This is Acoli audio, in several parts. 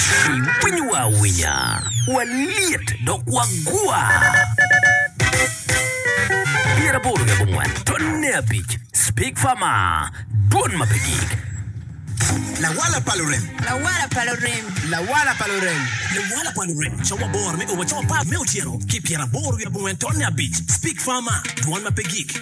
Iwinyowa awinya, walyet dok wagwa. 84 tonne abic Speak Farmer, Dwon ma pe gik. Lawala pa lurem. Lawala pa lurem. Lawala pa lurem. Lawala pa lurem, cawa aboro me o wa cawa apar me otyeno ki pyeraboro wiye abongwen tonne abic. Speak Farmer, Dwon ma pe gik.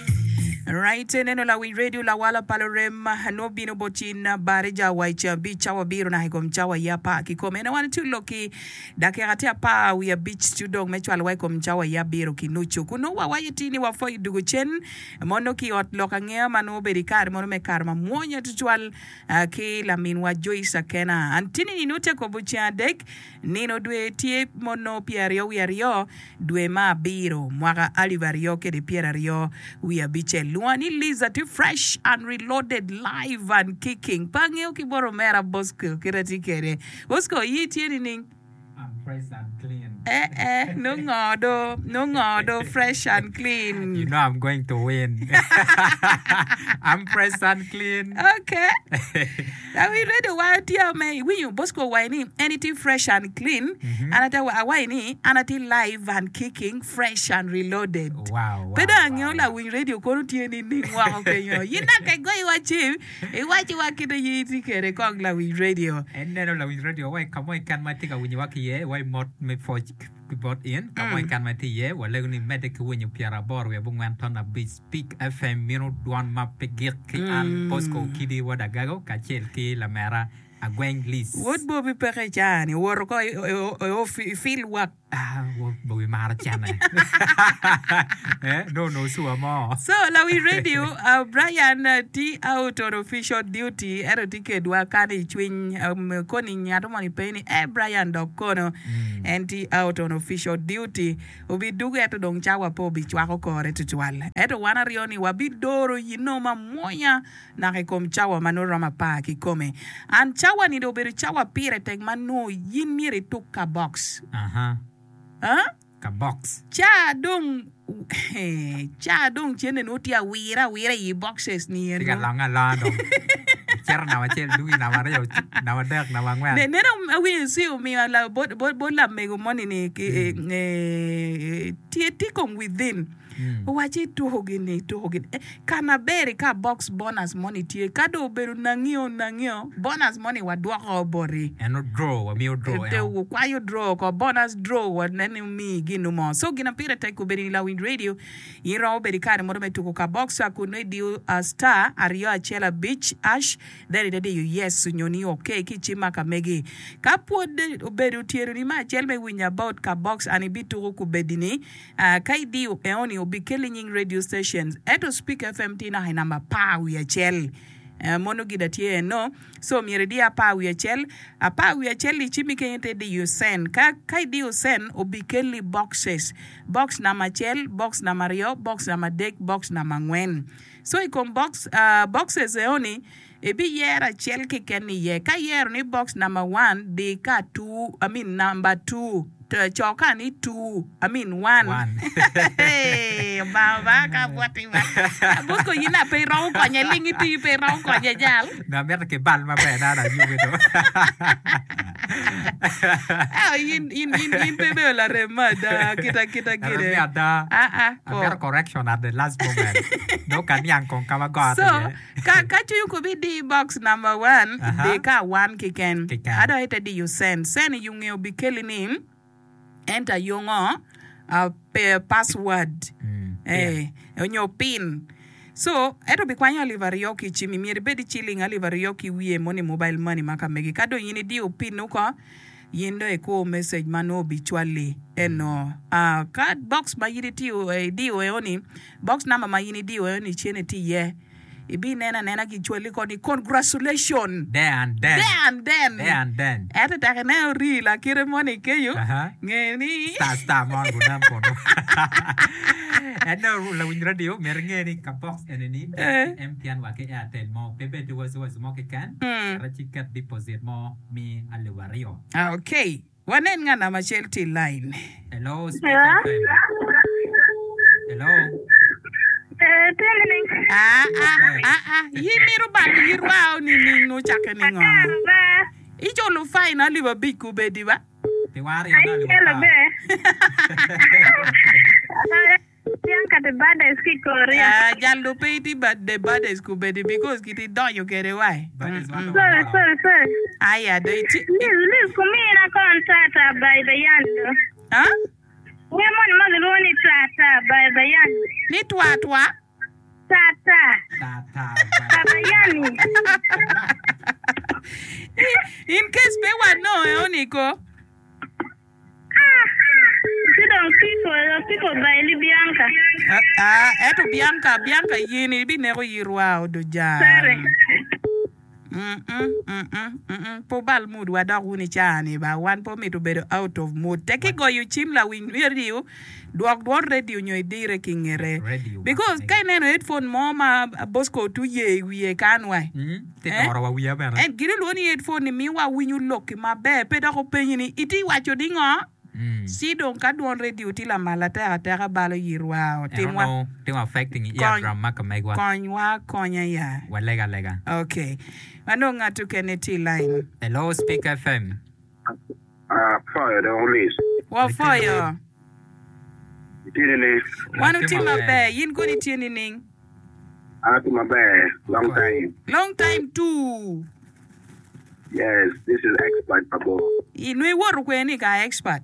Right, neno lawiny radio lawala pa lurem nwo bino bot cin Barija wa i ceng abic cawa abiro naka i kom cawa i apar kikome. En wan tye lok ki dakika tye apar wiye abic ci odong me cwalowa i kom cawa i abiro ki nucu. Kun nongo wawaco ti ni wapwoyo dugo cen mono ki i ot lok angeya ma nongo obedo i kare mono me kare mamwonya tutwal ki laminwa Joyce Akena. Antini ni nongo tye kobo ceng adek nino dwe tye mono pyeraryo wiye aryo dwe ma abiro mwaka alip aryo kede pyeraryo wiye abicel. Lwonga ni Liza tye fresh and reloaded live and kicking. Pe angeyo ki bot omera Bosco kit atye kede. Bosco iyi tye nining? I'm fresh and clean. Eh eh, nongo ngo do, nongo ngo do fresh and clean. You know I'm going to win. I'm fresh and clean. Okay. Are we ready? Wa tye me iwinyo Bosco owaco ni en itye fresh and clean. An ate awaco ni an atye live and kicking fresh and reloaded. Wow, wow, Pe dong angeyo wow. lawiny radio kono tye nining woko kenyo. Yin dok ka igoyowa cim, Iwacciwa kit aye itye kwede kong lawiny radio. En neno lawiny radio wa i ka mo keken ma itye ka winyowa ki iye, wa i mot me pwoc ki bot in ka mo keken ma itye iye. Walego ni imedde ki winyo pyeraboro wiye abongwen ton abic Peak FM mino dwon ma pe gik ki an Bosco Okidi wod Agago kacel ki lamera Agweng Liz. Wod Bobi peke i caa-ni, owoto ko i field work. Ah, Bobi maro cene. Eh, no, no, sure mo. So, lawi radio, uh, Brian uh, tye out on official duty, ento tye kedwa kan i cwiny, um, koni ngat mo ni pe ni, eh, Brian dok kono. Mm. En tye out on official duty. Obidugo ento dong cawa pe obicwako kore tutwal. Ento wan aryo ni wabidoro yino mamwonya naka i kom cawa ma nongo romo apar kikome. And cawa-ni dong obedo cawa pire tek ma nongo in myero ituk ka box. Aha. Huh? Ka box. Ca dong ca dong cente nongo tye awira awira i boxes ni Tye ka eno. longe alonga dong. Cito namba acel dugi namba aryo namba adek namba angwen. Ne, nene awinyo ci omiyo la, bot, bot, bot lamego moni ni ki, eh, tye tye kong within. Owacci ituko gin-ni, ituko gin. Ka maber ka box bonus moni tye, ka dong obedo nangio nangio, bonus moni wadwoko boti. Eno draw, wamiyo draw eno. Wukwayo draw oko, bonus draw waneno ni omiyi ginu mo. So gin ma pire tek obedo ni lawiny radio, in romo bedo ki kare mono me tuko ka box kun nongo idiyo star aryo acel abic hash then ite diyo yes nyo ni ok ki i cim ma ka megi. Ka pwod obedo tyeroni me acel me winyo about ka box and ibituko kubedi-ni, Ka idiyo eoni obikelli nying radio stations ento Speak FM tye naka i namba apar wiye acel. Mono gida tye eno. So myero idi apar wiye acel. Apar wiye acel i cimmi kenyo te diyo send. Ka ka idiyo send obikelli boxes. Box namba acel, box namba aryo, box namba adek, box namba angwen. So i kom box boxes eoni Ibiyero acel keken iye. Ka iyero ni box number one, di ka two, I mean number two, co ka ni two, I mean one. One. Hey, Obanga ba ka bwoti ba. Bosco yin a pe iromo konye ling iti pe iromo konye jal. Na mito ki bal maber na ayubi do. Ah, in in in in pe ibedo larem me ada kita kita Larem gire. me ada. Ah ah. ko. Amito correction at the last moment. Dong ka niang kong ka ma goro So, iye. Ka ka cwiny okobi di box number one, Aha. di ka one keken. Keken. Ado ite diyo send. Send i yunge obikeli ni enter yungo uh, pe, password Mm, eh, onyo pin. So, ento bikwanyo alip aryo ki i cimi. Myero ibed i ciling alip aryo ki wiye moni mobile money ma ka megi. Ka dong in idiyo pin oko, yin dong ikur message ma nongo obicwali eno. Ah, ka box ma in itiyo, eh, idiyo eo-ni, box number ma in idiyo eo-ni cene tye iye. Ibineno anena gicwali ko ni congratulation. There and then. There and then. There and then. Ento tek ineno rii lakite moni kenyo, Aha. nge ni. Star star mon gunen kunu. Ento lawiny radio myero inge ni ka box eni ni Eh. ki MTN wa ki Airtel mo pe bed ki waci waci mo keken. Mm. Cit ci ket deposit mo mi alip aryo. Ah, okay. Wanen nga namba acel tye i lain. Hello, Speak FM. Hello. Eh, tye nining? Ah, ah, ah, ah. Yi mito balo yitwa o nining nongo cakke ningo? Akaro ba. Iculo fine alip abic kubedi ba. Pi wan aryo ni alip Ayelo apar. be. Bianca the baddest ki Korea. Ah, jal do pe iti ba the baddest kubedi because kiti donyo kede wai. Baddest wan dong Sorry, wamaro. sorry, sorry. Aya do iti. Liz, Liz kumina kon tata by the yando. Ah? Wer moni ma gilwongo ni tata by the yando. Ni twa twa. Tata. Tata Pa bayani. In case pe wa nonge oni ko. Ah! Ci dong people, people by li Bianca. Ah, eto Bianca, Bianca yin ibineko yirwa odoja. Sorry. Pe wubal mood wa dok wun i caa-ni ba, wan pe omito bedo out of mood. Tek igoyo cim lawiny radio, dwok dwon radio nyo idire ki ngete. Because ka ineno headphone mo ma Bosco tye oye i wiye kan wa, Tye doro wa wiya bene. En gin olwongo ni headphone ni miyo wa winyo lokki maber, pe dok openyi ni itye waco ni ngo? Ci dong ka dwon radio tye lamal atek ateka balo yitwa o. Ento Timwa nongo timo affecting i kony eardrum ma ka megwa. konywa akonya ya. Waleg alega. Ok. Wanong ngat okene tye i line. Hello Speak FM. Apwoyo dong Liz. Wapwoyo. Itye nining? Wan Watye otye maber. maber. In kono itye nining? An atye maber. Long time. Long time too. Yes, this is expert pa bor. I nongo iwoto kwede ni ka expert.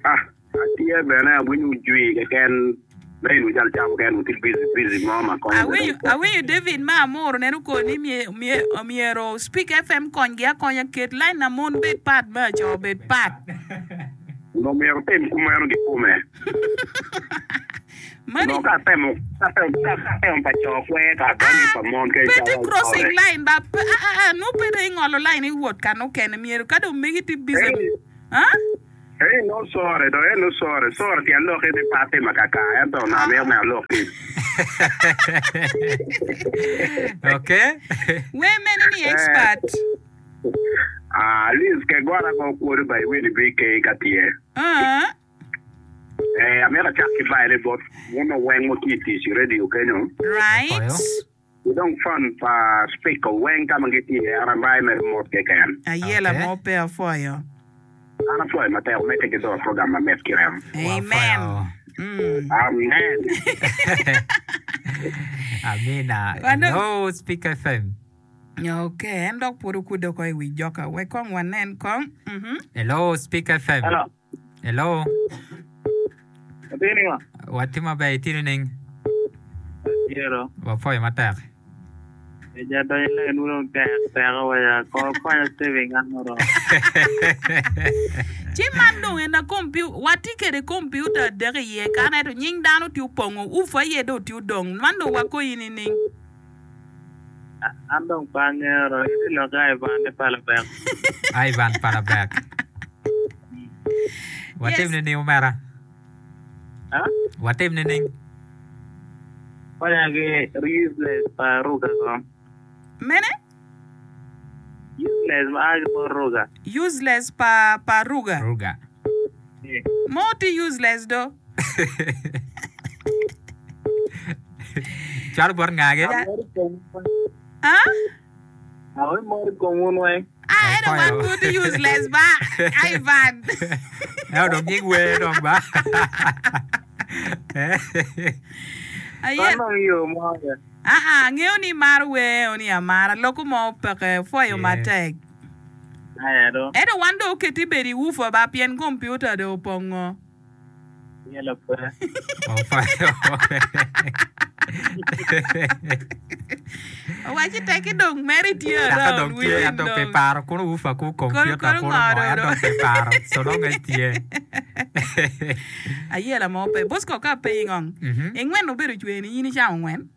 Ah, atye bene awinyo ojwi keken lain wi cal camo keken wutye busy busy mo ma konyo Awinyo, awinyo David ma amoro neno koni ni myero Speak FM konygi akonya ket line na mon bed pat me aco bed pat. Onongo myero otim kumeno kikome. Mani Onongo ka atemo ka atemo pa co kwer ka adonyo i pa mon kec pe tye cawa crossing ore. line ba pe a a a nongo pe dong ingolo line iwot ka nukene myero ka dong megi tye busy Ei, ha ei nongo sore dong en nongo sore sore tyen lokke ni pe atimo kakar ento onongo amito me alokki. Okay. Wer mene ni Eh, expert ah, Liz ke gora ko kwodo ba iwini BK ka tye. Ah. Eh, amito acak ki bayone bot wun weng ma wutye i tic i radio kenyo. Right. Opwoyo. Ki dong fan pa speaker weng ka ma gitye iye, an abayo mere mot keken. Ayela Okay. mo pe apwoyo. An apwoyo matek, omedde ki doro program mamit ki remo. Amen. Wapwoyo. Amen. Amina. Wano- Hello, Speak FM. Ok, en dok pwod okudde oko i wi joka. Wek kong wanen kong. Mhm. Hello, Speak FM. Hello. Hello. Atye ni wa? Watye maber, itye nining? Atye Wapwoyo matek. Eja donyo i line dong tek teko wa ya ko konya saving an oromo. Ci man dong en a kompiu watye kede kompiuta adek iye kan ento nying dano tye opongo ufu aye dong tye odong man dong wakoyi nining? An dong pe angeyo ro iti lok Ivan ni Palabek. Ivan Palabek. Watim Yes. nining omera? Ha? Watim nining? Konya ki useless pa Ruga ko. Mene? Useless ma a ki bot Ruga. Useless pa pa Ruga. Ruga. Mo tye useless do. Cwalo bot ngagi? Ah? Awe mor i kom wun weng. Ah, ento wan pud tye useless ba, Ivan. Ento dong nying wer dong ba. Aye. Man dong yo mo ya. Ah, ah, angeyo ni imaro wer eni amara, loko mo peke, pwoyo Yeah. matek. Aya do. Ento wan dong oketi bedo i woofer ba, pien kompiuta dong opongo. Yelo pe. Owaci tekki dong mere tye Dako around dong tye within ento pe dong. paro kono wufa ku Kono kompiuta kono kono ngo ngo dong ento dong. pe paro so nongo en tye. Ayela mo pe. Bosco ka pe ingong. Mhm. Ingwen obedo cwer ni in icamo ngwen.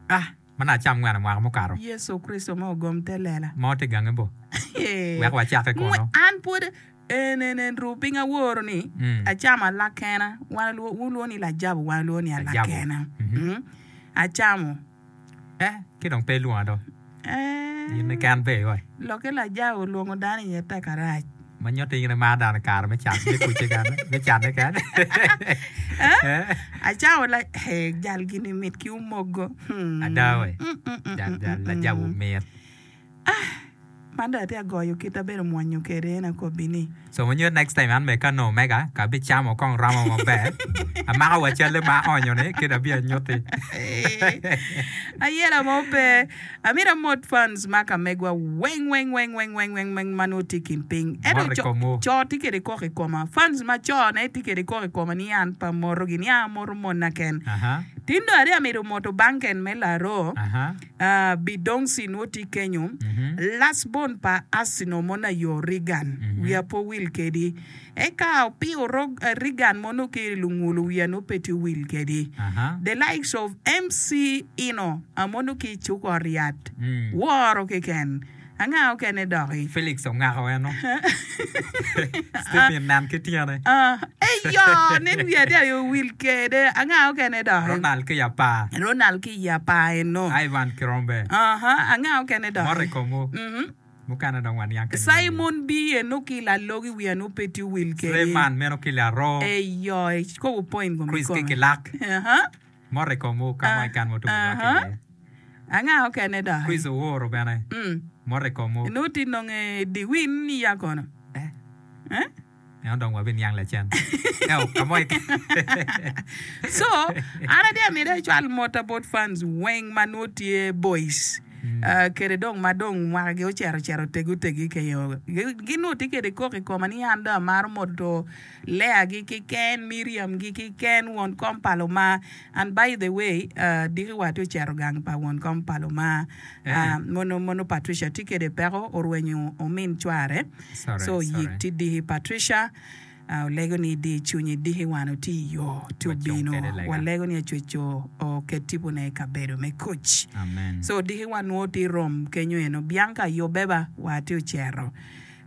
Ah, mana acam ngwen mwaka mukato. Yecu Kricito ma ogom te lela. Mo tye gange bo. Ee. Wek wacake Ngwe- kono. An pwod en en en ru piny aworo ni Mm. acamo alakena wan alwo- wulwongo ni lajabo wan alwongo ni Lajabo. alakena. Mhm. Mm. Acamo. Eh, ki dong pe ilwonga do. Eh, In keken pe oi. Lokke lajabo olwongo dano iye tek arac. Ma nyuto in imaro dano i kare me can, me kucce kene, me canne kene. Eh? Acamo la, eh, jal gini mit ki omogo. Hmm. Ada we. Mm, mm, mm, Jal, mm, jal, mm, lajabo mm. mit. Man dong atye ka goyo kit abedo mwonyo kwede en akobbi ni. So nyo next time an bene ka nongo omega ka abicamo kong romo maber amako wa calle ma aonyo ni kit abi anyutti. Ayela mo pe. Amito amot fans ma ka megwa weng weng weng weng weng weng weng ma nongo tye i kin piny. Ento Mot i co komwu. co tye kwede koko i koma. Fans ma co ne tye kwede koko i koma ni an pe amoto gi ni an amoto monna ken. Aha. Tin dong aryo amito moto banken me laro. Aha. Bidongsi nwo tye kenyo, last born pa Arsenal mono ayo Reagan, wiya pe owil kedi. Eka opiyo Reagan mono ki lungulu wiya nwo pe tye owil kedi. The likes of MC Ino mono ki cuk ot yat, woro keken. Anga okene doki? Felix ongako eno. Stephen nen ki tyene. Eyo, nen wiye adi aye owil kede. Anga okene doki? Ronald ki apar. Ronald ki i apar eno. Ivan Kirombe. Aha, anga okene doki? Mot i komwu. Mukene dong waniang ki nyingi. Simon B eno ki lalogi wiye nongo pe tye owil kede. Suleiman meno ki laroo. Eyo, ikobo point komi Chris ki kome. kilak. Aha. Mot i komwu ka mo keken ma wutumo lwak iye. Anga okene doki? Chris Oworo bene. Mot i komwu. Nongo tye nonge diwin ya kono. Eh. Eh? Eno dong wabiniang lacen. Eo, ka mo keken. So, an atye amito acwal mota bot fans weng ma nongo tye boys. Uh, kede dong ma dong mwakagi ocito ocito otegi otegi kenyo. Gin nongo tye kede koko i koma ni an dong amaro moto Leah-gi kiken, Miriam-gi kiken, won kom pa Luma. And by the way, diki wa tye ocito gang pa won kom pa Luma. Mono, mono Patricia tye kede peko, orwenyo omin cware. Sorry, So sorry. yik tye diki Patricia, olego ni idi cwinyi diki wan otye i yo tye Wacung obino. kede lega. Walego ni Acweco oket tipone i kabedo me kuc. Amen. So diki wan nwo tye rom kenyo eno. Bianca yubbe ba wa tye ocito.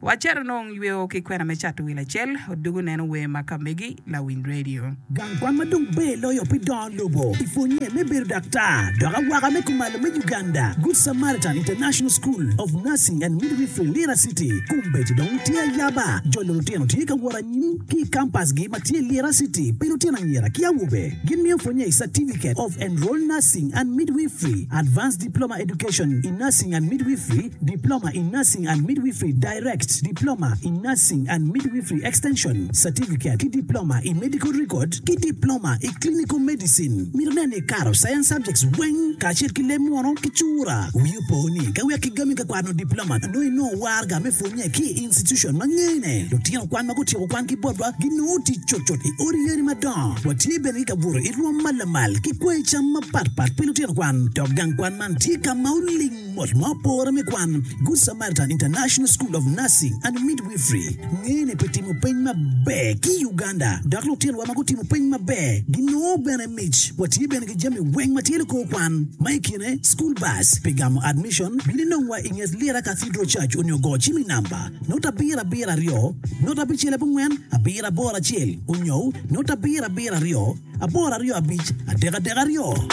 Wacito nong yweo ki kwena me cato wil acel, odugu neno wer ma ka megi lawiny radio. Gang kwan ma dong ber loyo pi dongo lobo i pwonye me bedo daktar dok awaka me kumalo me Uganda, Good Samaritan International School of Nursing and Midwifery Lira City, kombeddi dong tye ayaba. Jolo lutino tye ka wot anyim ki i kampasgi ma tye i Lira City pi lutino anyira ki awobe. Gin miyo pwonye i Certificate of Enrolled Nursing and Midwifery, Advanced Diploma Education in Nursing and Midwifery, Diploma in Nursing and Midwifery Direct, Diploma in Nursing and Midwifery Extension, Certificate ki Diploma i Medical Record ki Diploma i Clinical Medicine. Mito nen ni ikato Science Subjects weng kacel ki leb munu ki cura. Wi opo ni ka wek kigami ka kwano diploma nongo inongo waraga me pwonye ki i institution ma ngene. Lutino kwan ma gutyeko kwan ki botwa ginongo tic cutcut i odi yadi madongo. Watye bene ki kabuto i rwom ma lamal ki kwayi cam mapatpat pi lutino kwan. Dok gang kwan man tye ka ma oling Mot ma opore me kwan, Good Samaritan International School of Nursing and Midwifery ngene pi timo peny maber ki i Uganda dok lutinowa ma gutimo peny maber ginongo bene mic. Watye bene ki jami weng ma tye likor kwan ma i kine school bus. Pi gamo admission, bin inongwa i nget Lira Cathedral Church onyo go cim i namba not abiro abiro aryo not abicel abongwen abiro aboro acel onyo not abiro abiro aryo 8 25 3 2.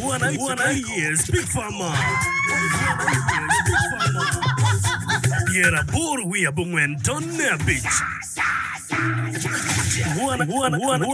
Wan aye Speak Farmer. 85.